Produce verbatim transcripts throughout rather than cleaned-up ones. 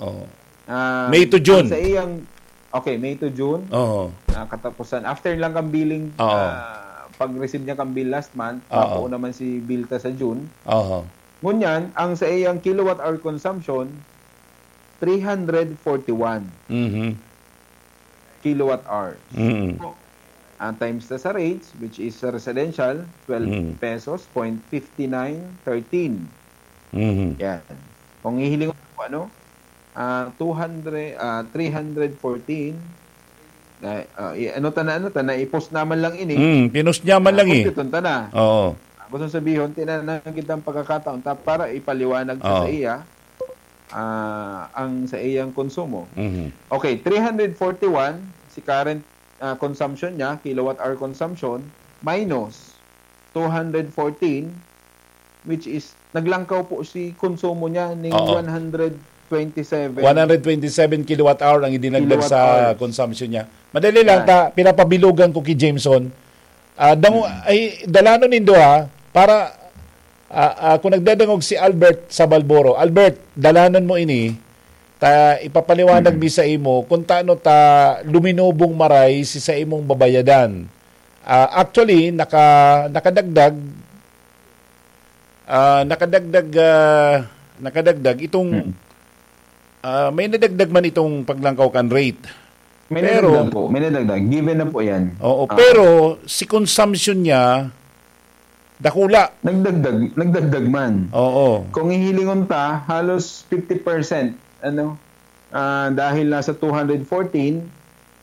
Oo. Ah, May to June. Sa iyang, okay, May to June. Oo. Ah, katapusan. After lang kang billing, Oo. ah, pag-receive niya kang bill last month, Oo. mapuo naman si bill ta sa June. Oo. Ngunyan, ang sa iyang kilowatt hour consumption, three hundred forty-one Mhm. kilowatt hours. Mhm. Ah, times na sa rates, which is sa residential, twelve Mm. pesos, point fifty nine thirteen. Mhm. Yan. Kung hihiling mo, ano, ah, two hundred, ah, three hundred fourteen, na, ah, i- ano ta na, ano ta na, i-post naman lang ini. Mm, pinus niya man lang eh. Kumpiton ta na. Oo. Gusto sabihin, tinanang kitang pagkakataon ta para ipaliwanag ta Oo. sa iya ah, ang sa iyang konsumo. Mhm. Okay, three hundred forty-one si current ah, consumption niya, kilowatt hour consumption, minus two hundred fourteen, which is naglangkaw po si konsumo niya ning Oo. one hundred twenty-seven. One hundred twenty-seven kilowatt hour ang idinagdag Kilowatt sa hours. Consumption niya. Madali lang, Yan. ta, pinapabilugan ko kay Jameson. Ah, damo, ay, dalanon nindo ha, para ah, ah, kung nagdadangog si Albert sa Balboro, Albert, dalanon mo ini, ta ipapaliwanag mi sa imo kung taano ta luminubong maray si sa imong babayadan. Ah, actually, naka, nakadagdag, ah, nakadagdag, ah, nakadagdag itong, Mm. ah, may nadagdag man itong paglangkaw kan rate. May Pero- nadagdag po, may nadagdag. Given na po yan. Oo, Ah. Pero si consumption niya, dakula. Nagdagdag, nagdagdag man. Oo. Kung hihilingon ta, halos fifty percent, ano, ah, dahil nasa two hundred fourteen,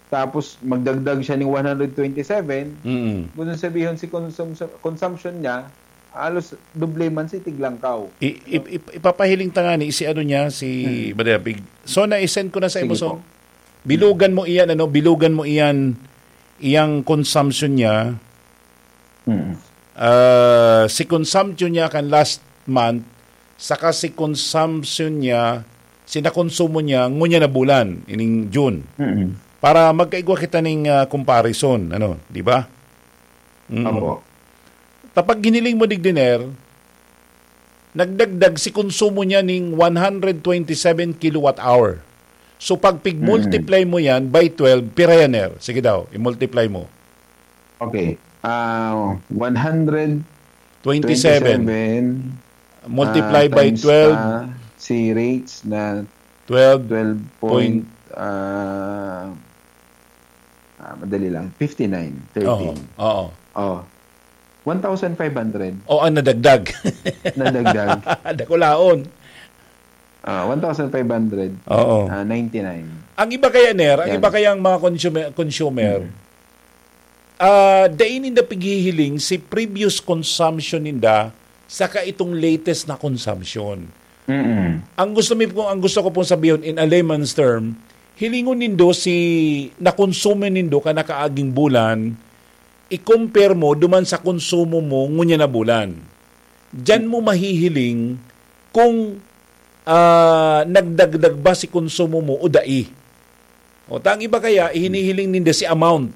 tapos magdagdag siya ng one hundred twenty-seven, Mm. gusto sabihin si consum- consumption niya, halos doble man si tiglangkaw. I, i, i, ipapahiling ta nga ni si ano niya, si Hmm. Brother Pig. So, na-send ko na sa Sige imo, so, po. bilugan mo iyan, ano, bilugan mo iyan, iyang consumption niya. Mm. Ah, si consumption niya kan last month, saka si consumption niya, si nakonsumo niya, ngunya na bulan, ining June. Mm. Para magkaigwa kita ning, ah, comparison, ano, di ba? Mm. Opo. Tapag giniling mo, Digdiner, nagdagdag si konsumo niya ning one hundred twenty-seven kilowatt hour. So, pag pig-multiply mo yan by twelve, pira yan, Ner? Sige daw, i-multiply mo. Okay. Ah, one hundred 27. twenty-seven, Multiply ah, by times, twelve, ah, si rates na twelve. twelve Point- point, ah, ah, madali lang, fifty-nine thirteen. Oo, oo. Oh. One thousand five hundred O, ang nadagdag. nadagdag. Dakulaon. Ah, one thousand five hundred, Oo. ah, ninety-nine. Ang iba kaya, Ner, ang Yan. iba kayang mga consumer, consumer, ah, dai ninda pighihiling si previous consumption ninda saka itong latest na consumption. Mm-mm. Ang gusto mi po, ang gusto ko pong sabihin in a layman's term, hilingon nindo si nakonsumo nindo kan nakaaging bulan, i-compare mo duman sa konsumo mo ngunyan na bulan. Diyan mo mahihiling kung, ah, nagdagdag ba si konsumo mo o dai. O, ta ang iba kaya, hinihiling ninda si amount.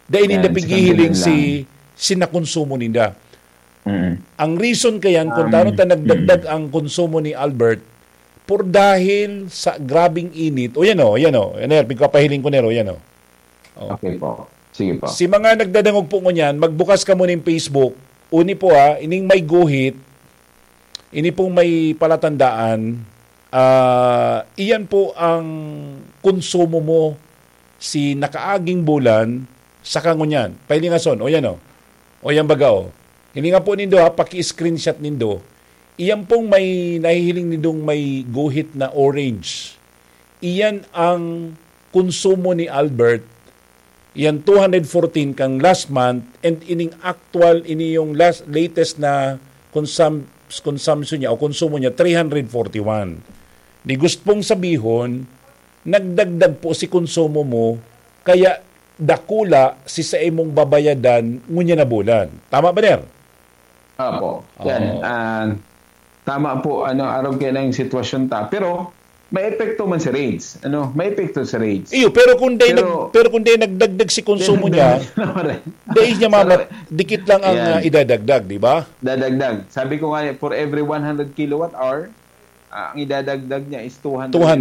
Dai ninda Yan, si pighihiling kantidad si, lang. si nakonsumo ninda. Mm-mm. Ang reason kayan kung Um, taano ta nagdagdag ang konsumo ni Albert, por dahil sa grabing init. O yan o, yan o. Yan, Ner, pigpapahiling ko, Ner, o yan o. O. Okay po. Sige po. Si mga nagdadangog po ngunyan, magbukas ka muna yung Facebook. Uni po ha, ining may guhit, ini pong may palatandaan, ah, iyan po ang konsumo mo si nakaaging bulan sa kangunyan. Pailingason, o yan o. O yan baga o. Hininga po nindo ha, paki-screenshot nindo. Iyan pong may nahihiling nindong may guhit na orange. Iyan ang konsumo ni Albert. Iyan two hundred fourteen kang last month, and ining actual, ini yung last, latest na consum-, consumption niya o konsumo niya, three hundred forty-one. Ni gustong sabihon, nagdagdag po si konsumo mo, kaya dakula si sa imong babayadan ngunyan na bulan. Tama ba, Ner? Opo. Yan. Oo. Ah, tama po, ano, arog kayo na yung sitwasyon ta. Pero, may epekto man si rates. Ano, may epekto si rates. Iyo, pero kung day Pero- nag, pero kung day nagdagdag si konsumo niya, Dagdag na rin. day niya mama, Pero- dikit lang ang Yan. ah, idadagdag, di ba? Dadagdag. Sabi ko nga, for every one hundred kilowatt hour, ah, ang idadagdag niya is two hundred. Two hundred.